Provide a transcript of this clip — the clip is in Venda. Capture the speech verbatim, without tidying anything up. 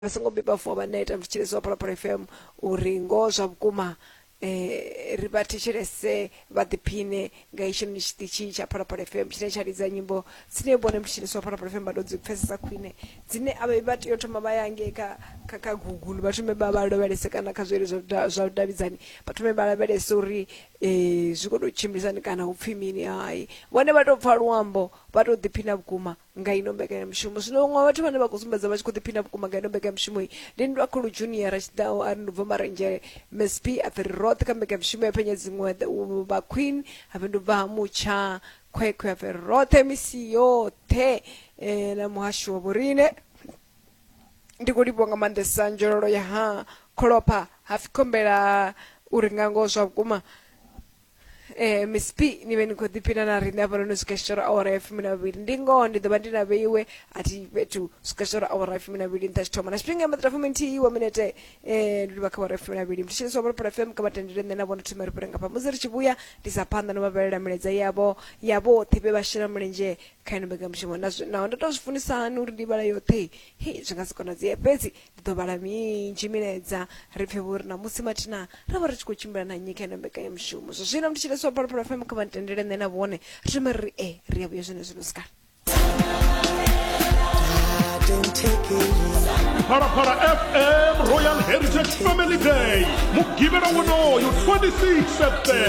Vha songo beba vuwa vha neta mthetshelesi wa Phalaphala F M uri ngoho zwa vhukuma eh ri vha thetshelese, vha ḓiphine nga itshinoni tshiṱitshi tsha Phalaphala F M tshine tsha lidza nyimbo dzine vhone mthetshelesi wa Phalaphala F M vha tou dzi pfesesa khwine, dzine a vha tea u thoma vha ya ngei kha kha kha Google, vha thome vha vha lavhelese kana kha zwileludzi zwa vhudavhidzani, vha thome vha lavhelese uri eh zwi khou tou tshimbilisani kana hu pfhi mini. Hai, vhone vha tou pfha luambo, vha tou ḓiphina vhukuma nga ino mbekanyamushumo. Zwino vhaṅwe vhathu vhane vha khou sumbedza vha tshi khou ḓiphina vhukuma nga ino mbekanyamushumo iyi ndi Ndwakhulu Junior Tshiḓaho, a ri ndi bva Marenzhele. Msp a pfhi ri roṱhe kha mbekanyamushumo ya phenya dziṅwe vha Queen, a pfhi ndi bva ha Mutsha Khwekhwe, a pfhi ri roṱhe misi yoṱhe eh, na muhasho wa vhorine. Ndi khou livhuwa nga maanḓesa nzhololo ya ha Kholopha hafi khombela uri nga ngoho zwa vhukuma eh Miss P ni vhe ni khou ḓiphina na riṋe hafhanoni swika tshitshoro awara ya fumi na vhili. Ndi ngoho ndi ḓo vha ndi na vheiwe a thi fhethu swika tshitshoro awara ya fumi na vhili nṱha tshithoma na tshifhinga ya maḓira fumi nthihi wa minete eh ndi livha kha awara ya fumi na vhili. Mthetshelesi wa Phalaphala F M, kha vha tendele nṋe na vhone thome ri fhire ngafha. Musi ri tshi vhuya ndi sa phanḓa no vha vhalela milaedza yavho ya vhoṱhe vhe vha shela mulenzhe kha ino mbekanyamushumo. Na naho ndo tou zwi funisa hani uri ndi vhala yoṱhe, hei zwi nga si konadzee, fhedzi ndi ḓo vhala minzhi milaedza ri pfhe vho uri namusi mathina ra vha ri tshi khou tshimbila na nnyi kha ino mbekanyamushumo. Zwa zwino mthetshelesi wa Phalaphala F M, kha vha ntendele nṋe na vhone ri thome ri e ri ya vhuya zwene zwino sikala. Phalaphala F M Royal Heritage Family Day, Mugivhela wonoyu twenty-six September.